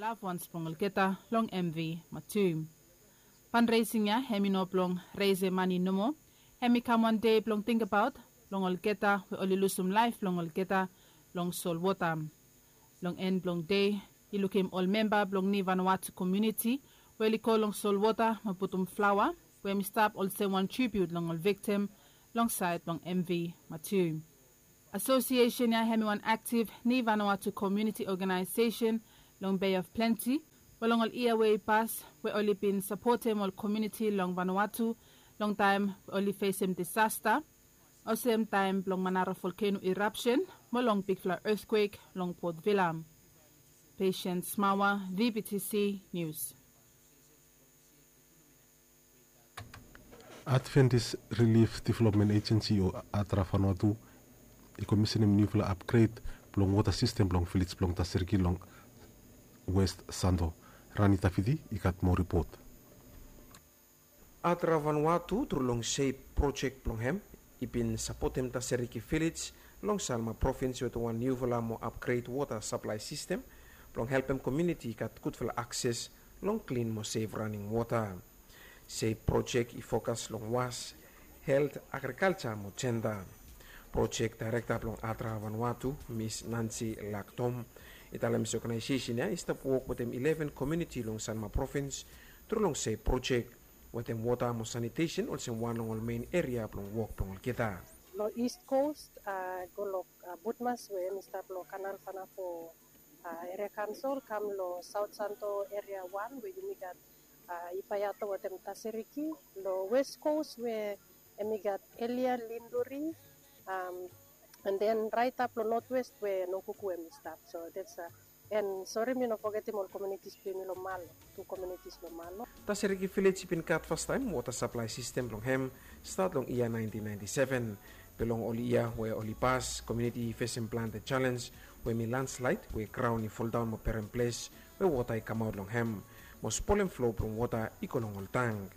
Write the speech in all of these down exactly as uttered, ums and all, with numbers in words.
Loved ones blong olgeta long M V Matiu. Fundraising ya hem i no blong reisem mani nomo. Hem i kam wan dei blong tingbaot long olgeta we oli lusum laef blong olgeta long solwota. Long en blong dei i lukim ol memba blong Ni Vanuatu komuniti we oli go long solwota mo putum flaoa we hem i stap olsem wan tribiut long ol viktim long saed blong M V Matiu. Asosiesen ya hem i wan aktiv Ni Vanuatu komuniti oganaesesen long Bay of Plenty we long ol yia we i pas we oli bin sapotem ol komuniti long Vanuatu long taem we oli fesem disasta olsem taem blong Manara volkeno irapsen mo long bigfala etkwek long Port Vila. Patience Mawa, V B T C News. Adventist Relief Development Agency o ADRA Vanuatu i komisenem niufala apgred blong wota sistem blong vilej blong Taseriki long West Santo. Rani Tafiti i gat moa ripot. ADRA Vanuatu tru long SAVE projek blong hem i bin sapotem Taseriki Vilej long Salma provins wetem wan niufala mo apgred wota saplae sistem blong helpem komuniti i gat gudfala akses long klin mo sef raning wota. SAVE projek i fokas long was, helt, agrikalja mo jenda. Projek daerekta blong ADRA Vanuatu, Mis Nancy Laktom, i talem se oganaesesen ya i stap wok wetem ileven komuniti long Salma provins tru long SAVE projek wetem wota mo sanitesen olsem wan long ol mein eria blong wok blong olgeta. Long East Coast, a, go long, a, Butmas we hem i stap long Kanal Fanafo, a, Eria Kaonsol, kam long Saot Santo Eria Wan we yumi gat, a, Ipayato wetem Taseriki. Long West Coast we hem i gat Elia, Linduri, am, and then raetap long North West we Nokuku hem i stap. So that's, a, And sori mi no fogetem ol komunitis blong yumi long Malo, tu komunitis long Malo. Taseriki Vilej i bin gat fastaem wota saplae sistem blong hem stat long yia naentin naenti seven. Be long ol yia we oli pas, komuniti i fesem plante jalenj we hemi landslaed we graon i foldaon mo berem ples we wota i kamaot long hem mo spolem flo blong wota i go long ol tang.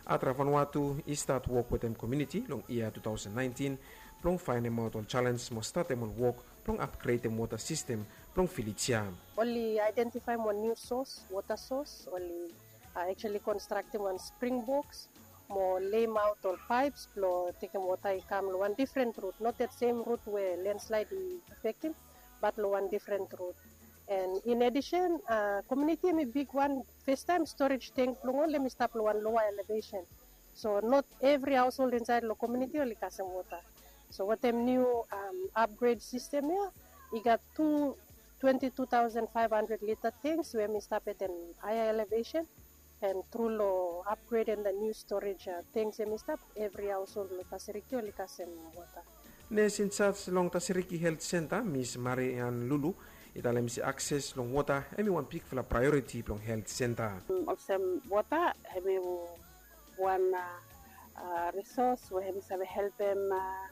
ADRA Vanuatu i stat wok wetem komuniti long yia tu taosen naentin blong faenemaot ol jalenj mo statem ol wok blong apgredem wota sistem blong vilej ya. Oli aedentifaem wan niu sos, wota sos, oli, a, actually konstraktem wan spring boks mo lemaot ol paeps blong tekem wota i kam long wan difren rut, not that same rut we landslaed i afektem, bat long wan difren rut. And in addition, a, komuniti hemi bigwan, fastaem storej tank blong ol hemi stap long wan loa elevesen. So not evri haosold insaed long komuniti oli kasem wota. So wetem niu, am, apgred sistem ya, i gat tu twenti tu taosen faef handred lita tanks we hemi stap at an haea elevesen. And tru long apgredem the niu storej, a, tanks hemi stap, evri haosold long Taseriki oli kasem wota. Nes injaj long Taseriki Helt Senta, Mis Marian Lulu, i talem se akses long wota hemi wan bigfala praeoriti blong helt senta. Olsem wota hemi wan, a, a, risos we hemi save helpem, a,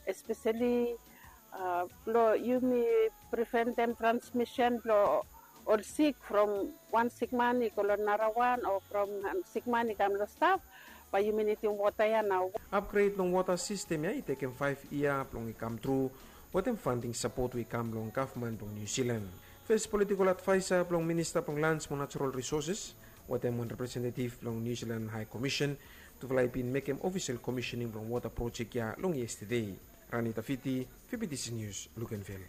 espeseli, a, blong yumi preventem transmisen blong ol sik from wan sikman i go long narawan o from, am, sikman i kam long staf, bae yumi nidim wota ya nao. Apgred long wota sistem ya i tekem faef yia blong i kamtru wetem fanding sapot we i kam long gavman blong Niu Silan. Fes politikol advaesa blong minista blong lans mo najerol risoses wetem wan representetiv blong Niu Silan Hae Komisen, tufala i bin mekem ofisel komisening blong wota projek ya long yestede. Rani Tafiti, V B T C Nius, Lukenvil.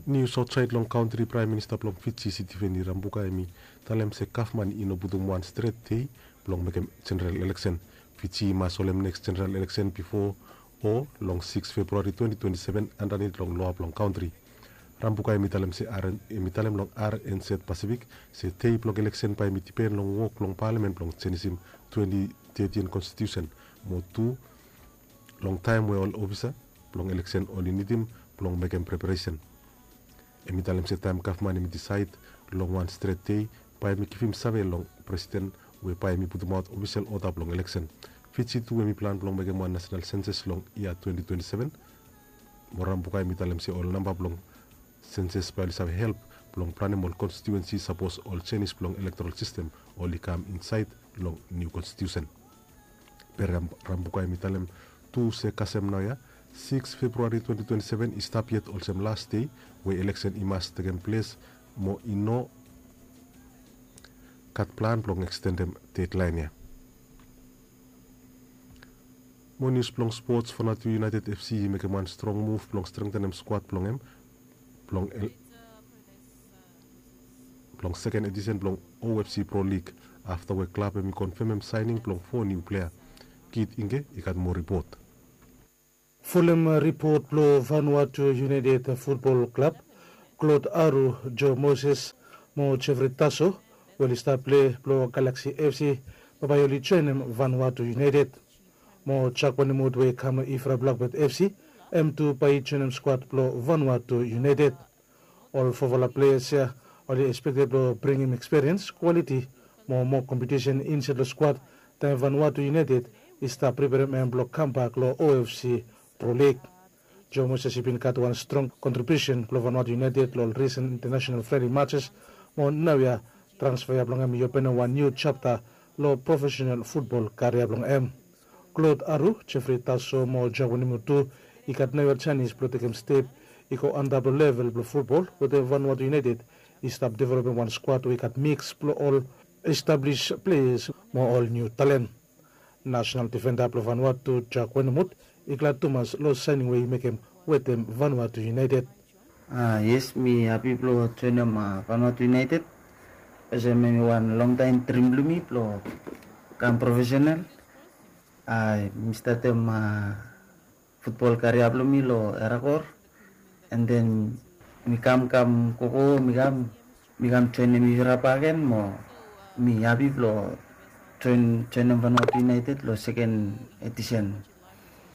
Nius aotsaed long kaontri, Praem Minista blong Fiji, Sitiveni Rabuka, hemi talem se gavman i no putum wan stret dei blong mekem jeneral eleksen. Fiji i mas holem neks jeneral eleksen bifo o long sikis Februari twenti twenti seven andanit long loa blong kaontri. Rabuka hemi talem se R N, hemi talem long R N Z Pasifik se dei blong eleksen bae hemi dipen long wok blong palamen blong jenisim twenti tetin konstitiusen mo tu long taem we ol ofisa blong eleksen oli nidim blong mekem preparesen. Hemi talem se taem gavman hemi disaed long wan stret dei, bae hemi givim save long presiden we bae hemi putumaot ofisel oda blong eleksen. Fiji tu hemi plan blong mekem wan nasenal senses long yia twenti twenti seven. Mo Rabuka hemi talem se ol namba blong senses bae oli save help blong planem ol konstitiuensi sapos ol jenis blong elektoral sistem oli kam insaed long niu konstitiusen. Be Ram-, Rabuka hemi talem tu se kasem naoia, Siks Februari twenti twenti seven i stap yet olsem las dei we eleksen i mas tekem ples mo i no gat plan blong ekstendem dedlaen ya. Mo nius blong spots, Vanuatu United F C i mekem wan strong muv blong strengtenem skwad blong hem blong blong seken edisen blong O F C Pro League afta we klab hem i konfemem saening blong fo niu plea. Kit Inge i gat moa ripot. Folem ripot blong Vanuatu United Futbol Klab, Klod Aru, Jo Moses mo Jeffrey Taso we oli stap plei blong Galaksi F C bae oli joenem Vanuatu United. Mo Jakwanimut we i kam long Ifra Blakbet F C, hem tu bae i joenem skwad blong Vanuatu United. Ol fofala pleas ya oli ekspekted blong bringim ekspiriens, kwaliti mo moa kompetisen insaed long skwad taem Vanuatu United i stap preperem hem blong kambak long O F C Pro League. Jo Moses i bin gat wan strong kontribiusen blong Vanuatu United long ol risen intanasenal frendli matses, mo naoia transfea blong hem i openem wan niu japta long profesenal futbol karia blong hem. Klod Aru, Jeffrey Taso mo Jakwanimut tu i gat naoia janis blong tekem step i go antap long level blong futbol wetem Vanuatu United i stap developem wan skwad we i gat miks blong ol establis pleas mo ol niu talen. Nasenal difenda blong Vanuatu, Jakwanimut, i glad tumas long saening we i mekem wetem Vanuatu United. A, yes, mi hapi blong joenem Vanuatu United. Olsem hem i wan longtaem drim blong mi blong kam profesenal. A, mi statem futbol karia blong mi long Erakor, an den mi kam kam gogo, mi kam mi kam joenem Ifra bakegen mo mi hapi blong joenem Vanuatu United long seken edisen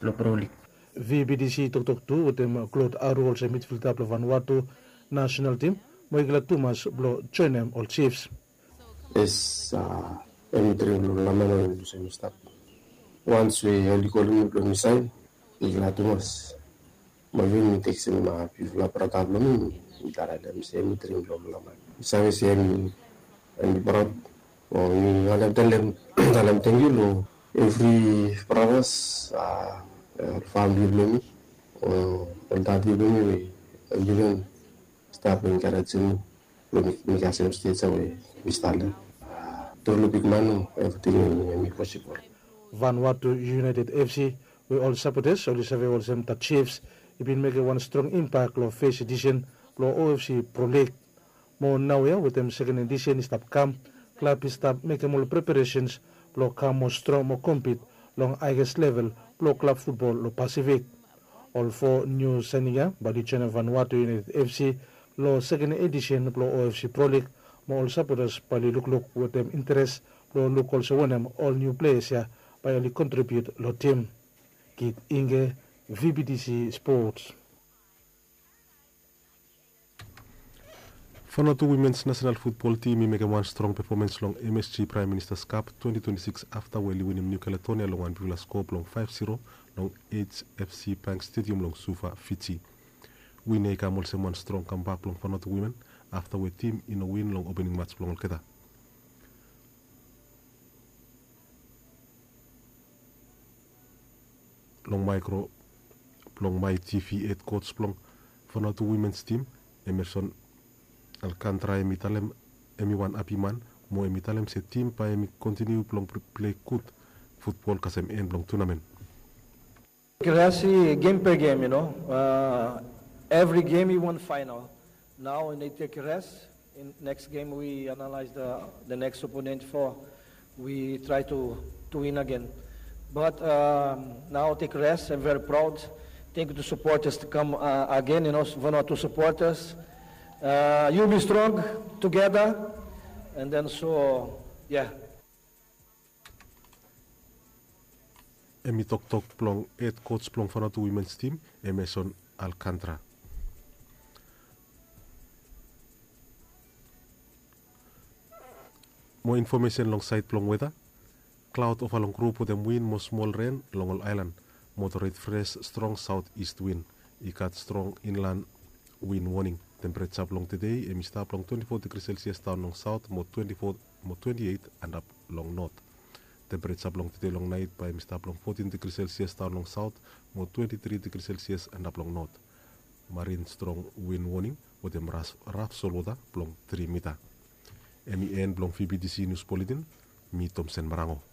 blong Pro League. V B D C i toktok tu wetem Klod Aru olsem midfilda blong Vanuatu nasenal tim mo i glad tumas blong joenem ol Chiefs. Yes, a, hemi drim blong ol laman we mi lusim mi stap. Wans we oli kolem mi blong mi saen, mi glad tumas. Mo even mi tekstem bifala brata blong mi, mi talem se hemi drim blong ol laman. Mi save se hemi, hemi praod. Mo mi wantem talem, talem tangkiu long evri bratas, a, famili blong mi, o ol dadi blong mi we oli even stap enkarejem mi blong mi, mi kasem stej ya we mi stap long. Tru long bigman, evriting hemi posibol. Vanuatu United F C, we ol sapotas oli save olsem The Chiefs, i bin mekem wan strong impak long fes edisen blong O F C Pro League. Mo naoia wetem seken edisen i stap kam, klab i stap mekem ol preparesens blong kam moa strong mo kompit long haeges level blong klab futbol long Pasifik. Ol fo niu saening ya bae oli joenem Vanuatu United F C long seken edisen blong O F C Pro League, mo ol sapotas bae oli lukluk wetem interes blong luk olsem wanem ol niu pleas ya bae oli kontribiut long tim. Kit Inge, V B D C Sports. Vanuatu Womens Nasenal Futbol Tim i mekem wan strong pefomans long M S G Praem Ministas Kap twenti twenti sikis afta we oli winim Niu Kaledonia long wan bigfala skoa blong faef ziro long H F C Bank Stediam long Suva, Fiji. Win ya i kam olsem wan strong kambak blong Vanuatu Women afta we tim i no win long opening mats blong olgeta. Long maekro blong MyTV, hed koj blong Vanuatu Womens Tim, Emerson Alcantara, hemi talem hemi wan hapi man, mo hemi talem se tim bae hemi kontiniu blong plei gud futbol kasem en blong tunamen. Rest i game per game, you know. Uh, every game you want final. Now they take a rest. In next game we analyze the the next opponent for we try to to win again. But um, now take rest. I'm very proud. Thank you to supporters to come uh, again. You know, Vanuatu supporters. Uh, you'll be strong together, and then so yeah. Hemi toktok blong hed koj blong Vanuatu Womens Tim, Emerson Alcantara. Mo infomesen long saed blong weta. Klaod ova long grup wetem win mo smol ren long ol aelan. Moderate fres strong saotis win. I gat strong inlan win woning. Tempereja blong tede hemi stap long twenti fo digri Celsius daon long saot mo twenti fo mo twenti eit antap long not. Tempereja blong tede long nait bae hem i stap long fotin digri selsias daon long saot mo twenti tri digri selsias antap long not. Marin strong win woning wetem raf solwota blong tri mita. Em i en blong vbtc nius buletin. Mi tomsen marango.